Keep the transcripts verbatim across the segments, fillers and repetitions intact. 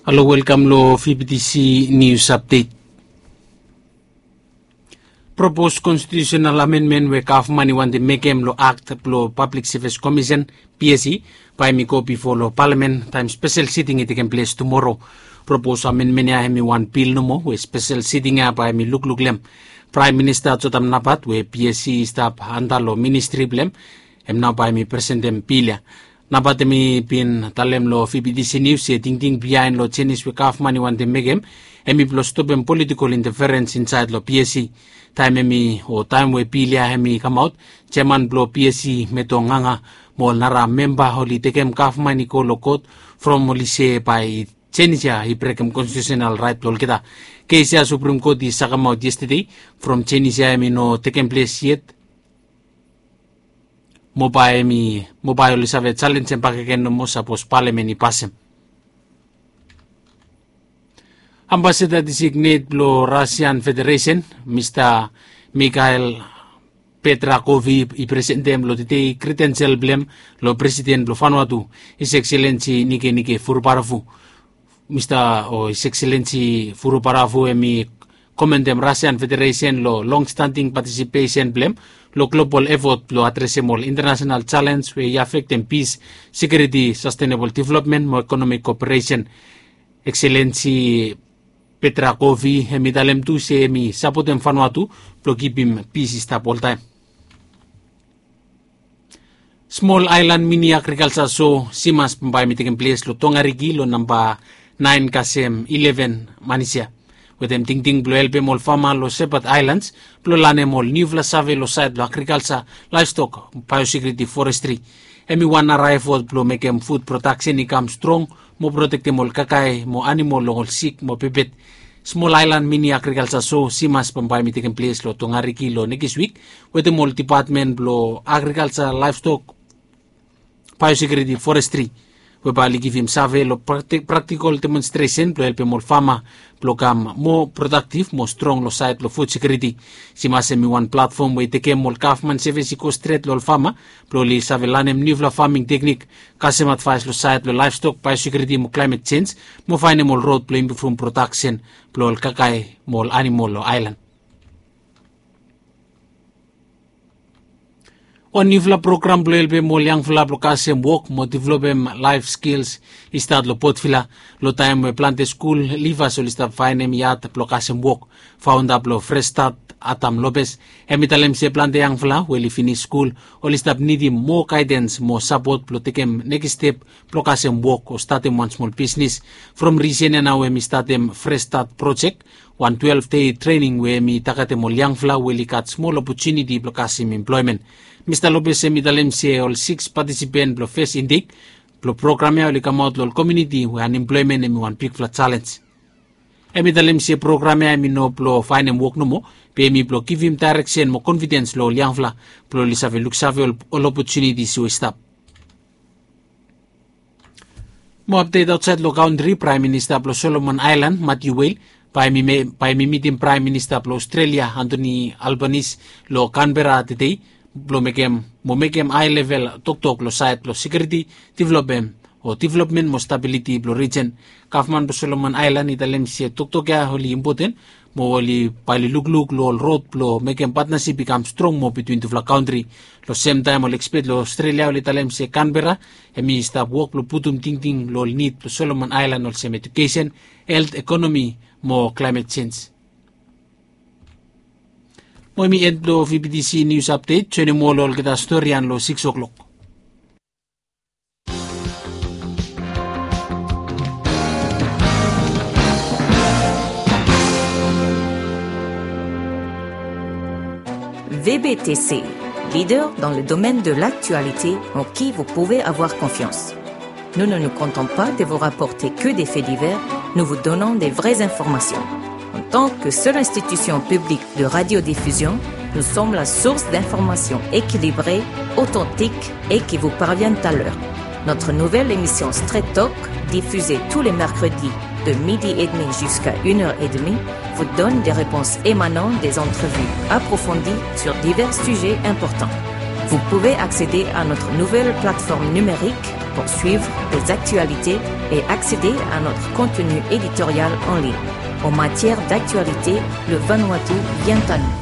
Halo, welkam lo V B T C News Update. Propos konstitiusenal amenmen we gavman i wantem mekem lo akt blo Pablik Sevis Komisen, P S C, bae hem i go bifo lo palamen taem spesel siting i tekem ples tumoro. Propos amenmen ya hem i wan bil nomo we spesel siting ya bae hem i lukluk lo hem. Praem Minista Jotam Napat we P S C i stap anda lo ministri blo hem, hem nao bae hem i presentem bil ya. Napat hem i bin talem lo V B T C News se tingting biaen lo jenis we gavman i wantem mekem hem i blo stopem politikol inteferens insaed lo P S C. Taem hem i, o taem we bil ya hem i kamaot, jeaman blo P S C, Meto Nganga, mo ol nara memba oli tekem gavman i go lo kot from oli se bae jenis ya i brekem konstitiusenal raet blo olgeta. Kes ya Suprem Kot i sakemaot yestede from jenis ya hem i no tekem ples yet. Mo bae hem i, mo bae oli save jalenjem bakegen nomo sapos palamen i pasem. Ambasada designet blo Rasian Federesen, Mista Mikhail Petrakovi, i presentem lo tedei kredensel blo hem lo Presiden blo Vanuatu, His Excellency Nikenike Vurubaravu. Mista, o His Excellency Vurubaravu hem i komentem Rasian Federesen lo longstanting patisipesen blo hem lo global efot blo adresem ol intanasenal jalens we i afektem pis, sekiuriti, sastenebol developmen mo ekonomik koperesen. Excellency Petrakovi hem i talem tu se hem i sapotem Vanuatu blo kipim pis i stap oltaem. Smol aelan mini agrikalja so, Simas, bambae hem i tekem ples lo Tongariki lo namba naen kasem ileven Manisia, wetem tingting blo helpem ol fama lo Shepherd Islands blo lanem ol niufala save lo saed lo agrikalja, laevstok, baeosekiuriti, forestri. Hem i wan nara efot blo mekem fud prodaksen i kam strong mo protektem ol kakae mo anamol long ol sik mo pepet. Smol aelan mini agrikalja so, Simas, bambae hem i tekem ples lo Tongariki lo nekis wik, wetem ol dipatmen blo agrikalja, laevstok, baeosekiuriti, forestri, we bae oli givim save lo prakti-, praktikol demonstresen blo helpem ol fama blo kam moa prodaktiv mo strong lo saed blo fud sekiuriti. Simas hem i wan platfom we i tekem ol gavman sevis i go stret lo ol fama blo oli save lanem niufala faming teknik, kasem advaes lo saed lo laevstok, baeosekiuriti mo klaemet jenj, mo faenem ol rod blo impruvum prodaksen blo ol kakae mo ol anamol lo aelan. Wan niufala program blo helpem ol yangfala blo kasem wok mo developem laef skils i stat lo Port Vila, lo taem we plante skul livas oli stap faenem yad blo kasem wok. Faonda blo Fresh Start, Adam Lopez, hem i talem se plante yangfala we oli finis skul oli stap nidim moa gaedens mo sapot blo tekem nekis step blo kasem wok o statem wan smol bisnis. From risen ya nao hem i statem Fresh Start projek, wan twelef dei trening we hem i tagetem ol yangfala we oli gat smol opotuniti blo kasem emploemen. Mista Lopez hem i talem se ol sikis patisipen blo fes intek blo program ya oli kamaot lo ol komuniti we anemploemen hem i wan bigfala jalenj. Hem i talem se program ya hem i no blo faenem wok nomo, be hem i blo givim daereksen mo konfidens lo ol yangfala blo oli save luksave ol, ol opotuniti we i stap. Mo apdet aotsaed lo kantri, Praem Minista blo Solomon Aelan, Matthew Wale, bae hem i me-, bae hem i mitim Praem Minista blo Aostrelia, Anthony Albanese, lo Canberra tedei blo mekem, mo mekem haelevel toktok lo saed blo sekiuriti, developmen, o developmen mo stabiliti blo rijen. Gavman blo Solomon Aelan i talem se toktok ya oli impoten, mo oli bae oli lukluk lo ol rod blo mekem patnasip i kam strong moa bitwin tufala kantri. Lo semtaem ol ekspet lo Aostrelia oli talem se Canberra hem i stap wok blo putum tingting lo ol nid blo Solomon Aelan olsem ejukesen, helt, ekonomi mo klaemet jenj. Mo hem i en blo V B T C News Update, joenem ol lo olgeta storian lo sikis o'clock. V B T C, leader dans le domaine de l'actualité en qui vous pouvez avoir confiance. Nous ne nous contentons pas de vous rapporter que des faits divers, nous vous donnons des vraies informations. En tant que seule institution publique de radiodiffusion, nous sommes la source d'informations équilibrées, authentiques et qui vous parviennent à l'heure. Notre nouvelle émission Straight Talk, diffusée tous les mercredis de midi et demi jusqu'à une heure et demie, vous donne des réponses émanant des entrevues approfondies sur divers sujets importants. Vous pouvez accéder à notre nouvelle plateforme numérique Suivre les actualités et accéder à notre contenu éditorial en ligne. En matière d'actualité, le Vanuatu vient à nous.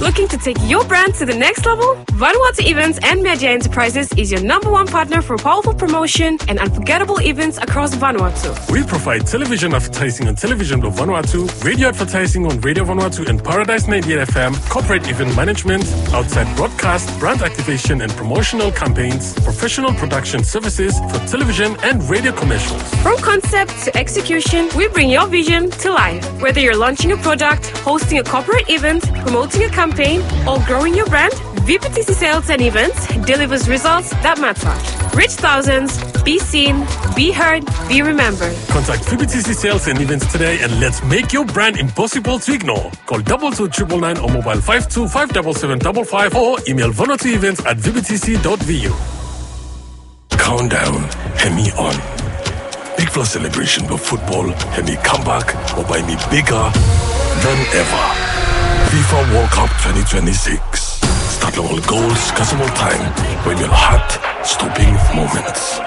Looking to take your brand to the next level? Vanuatu Events and Media Enterprises is your number one partner for powerful promotion and unforgettable events across Vanuatu. We provide television advertising on Television Blue Vanuatu, radio advertising on Radio Vanuatu and Paradise ninety-eight F M, corporate event management, outside broadcast, brand activation and promotional campaigns, professional production services for television and radio commercials. From concept to execution, we bring your vision to life. Whether you're launching a product, hosting a corporate event, promoting a campaign, or growing your brand, V P T C Sales and Events delivers results that matter. Reach thousands, be seen, be heard, be remembered. Contact V P T C Sales and Events today and let's make your brand impossible to ignore. Call double two triple nine or mobile five two five double seven double five or email vanuatuevents at V P T C dot V U. Countdown hemi on. Bigfala celebration blong football hemi comeback mo bae hemi bigger than ever. FIFA World Cup twenty twenty-six. Start long ol goals, kasem ol taem, wetem ol heart-stopping moments.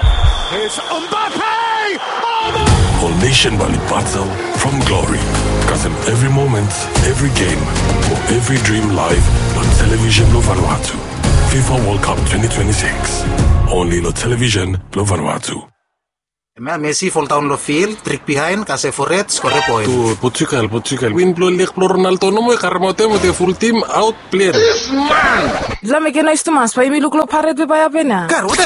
It's Mbappe! Oh, no! Ol nation bae oli battle from glory. Kasem evri moment, evri game, mo evri dream live long television blong Vanuatu. FIFA World Cup twenty twenty-six. Only long television blong Vanuatu. Hemia Messi foldaon long field, trik bihaen, kasem fored, skore poen. Portugal, Portugal. Win blong leg blong Ronaldo nomo i karemaot hem wetem ful tim aot plen. This man! Dispela mekem nois tumas, bae yumi luk long paret we bae hapen ya. Kar, wanem?